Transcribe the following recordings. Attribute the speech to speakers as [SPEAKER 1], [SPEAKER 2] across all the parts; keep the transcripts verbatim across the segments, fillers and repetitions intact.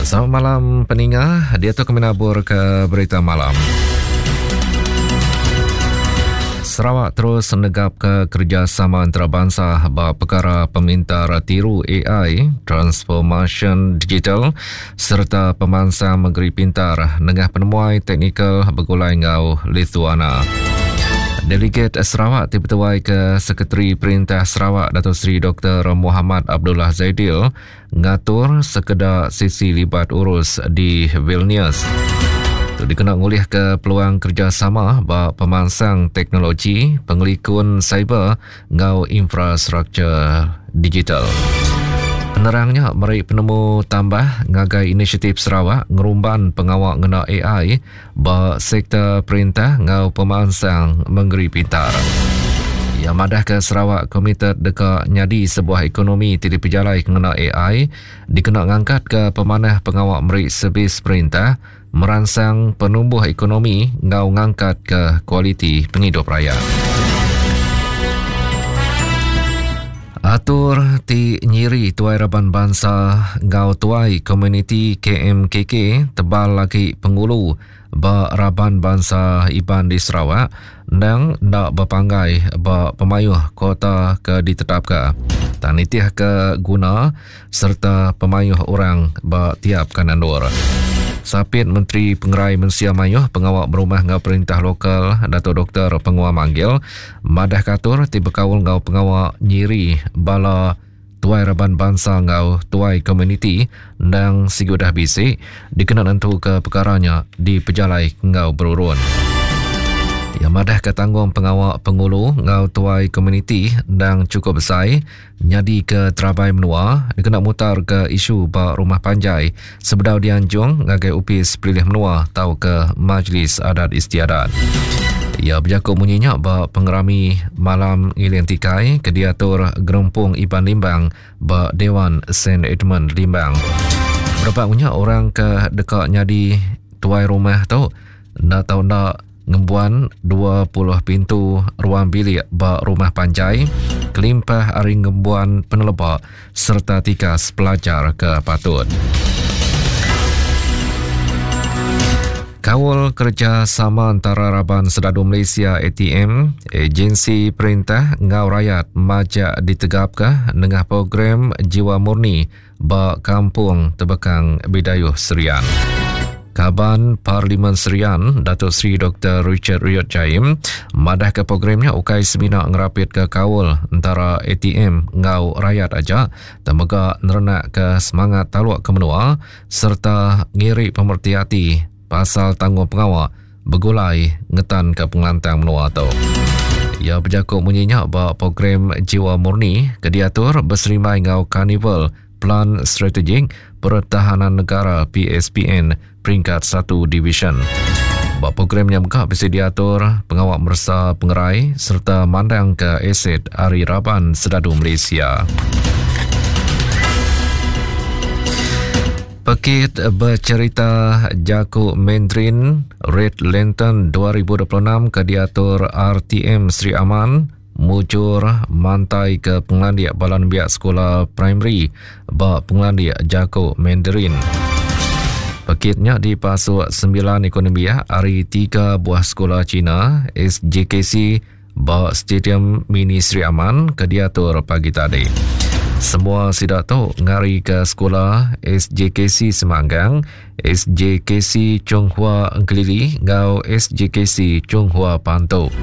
[SPEAKER 1] Selamat malam peninga, dia tu kami nabur ke berita malam. Sarawak terus negap ke kerjasama antarabangsa ba perkara pemintar tiru A I, transformation digital serta pemansang negeri pintar nengah penemuai teknikal begulai ngau Lithuania. Delegat Sarawak dipetuai ke Sekretari Perintah Sarawak Datuk Seri Doktor Muhammad Abdullah Zaidil ngatur sekeda sesi libat urus di Vilnius. Tu dikena ngulih ke peluang kerjasama ba pemansang teknologi, pengelikun cyber ngau infrastruktur digital. Penerangnya meri penemu tambah ngagai inisiatif Sarawak ngerumban pengawak ngena A I ba sektor perintah ngau pemansang Mengeri Pintar. Ia madah ke Sarawak komited deka nyadi sebuah ekonomi ti dipejalai ngena A I dikena ngangkat ke pemanah pengawak meri servis perintah, merangsang penumbuh ekonomi ngau ngangkat ke kualiti penghidup rakyat. Atur ti nyiri tuai raban bangsa ngau tuai komuniti K M K K tebal lagi pengulu ba raban bangsa Iban di Sarawak nang ndak berpanggai ba pemayuh kota ke ditetapkan. Tanitih ke guna serta pemayuh orang ba tiap kanandur. Sapit Menteri Pengerai Mensia Mayuh Pengawak Berumah ngau Perintah Lokal Datuk Doktor Pengua Manggil madah katur ti bekaul ngau pengawak nyiri bala tuai raban bangsa ngau tuai komuniti nang sigudah bisi dikena nentu ke perkaranya di pejalai ngau berurun. Yang madah ke tanggung pengawak pengulu ngau tuai komuniti nang cukup besar nyadi ke terabai menua dikena mutar ke isu ba rumah panjai sebedau dianjung ngagai upis pelilih menua tau ke Majlis Adat Istiadat. Ia berjakuk bunyinya ba pengerami malam Ngiling Tikai ke diatur Gerempung Iban Limbang ba Dewan Saint Edmund Limbang. Berapa punya orang ke dekat nyadi tuai rumah tu nak tahu nak ngembuan dua puluh pintu ruang bilik ba rumah panjai kelimpah ari ngembuan penelebak serta tikas pelajar ke patut. Kawal kerjasama antara Raban Sedadu Malaysia A T M, agensi perintah ngau rakyat majak ditegapkah nengah program Jiwa Murni ba Kampung Tebekang Bidayuh Serian. Kaban Parlimen Serian, Datuk Seri Doktor Richard Riot Jaim, madah ke programnya ukai semina ngerapit ke kaul antara A T M ngau rakyat aja, temega nerenak ke semangat taluk ke menua serta ngiri pemerti hati pasal tanggung pengawak begulai ngetan ke pengelantang menua tu. Ia berjakuk bunyinya ba program Jiwa Murni ke diatur berserimai ngau Karnival Plan Strategik Pertahanan Negara P S P N peringkat satu Division. Ba programnya buka bisa diatur pengawak mersa pengerai serta mandang ke aset Ari Raban Sedadu Malaysia. Pekit bercerita Jakuk Mandarin Red Lantern dua ribu dua puluh enam ke diatur R T M Sri Aman mujur mantai ke pengelandik Balan Biak Sekolah Primary ba pengelandik Jakuk Mandarin. Pekitnya dipasuk sembilan ekonomi ya, hari tiga buah sekolah Cina S J K C ba Stadium Mini Sri Aman ke diatur pagi tadi. Semua sidak tu ngari ke sekolah S J K C Semanggang, S J K C Chonghua Engkelili ngau S J K C Chonghua Pantu.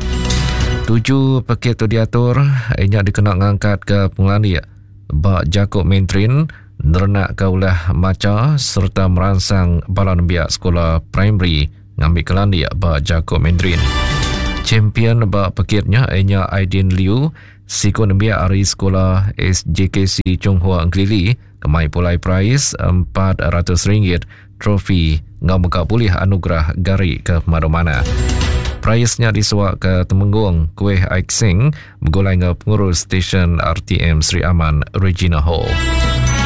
[SPEAKER 1] Tujuh pekit tu diatur inya dikena ngangkat ke pengelandik ba Jakuk Mandarin nerenak ke ulah maca serta merangsang bala nembiak sekolah primary ngambil kelandik ba Jakuk Mandarin. Champion ba pekitnya inya Aidin Liu siku nembiak ari sekolah S J K C Chonghua Engkelili kemai pulai prize empat ratus ringgit trofi ngau mega boleh anugerah gari ke mana-mana. Prize-nya disuak ke Temenggung Kuih Aik Sing begulai ngau pengurus stesen R T M Sri Aman Regina Hall.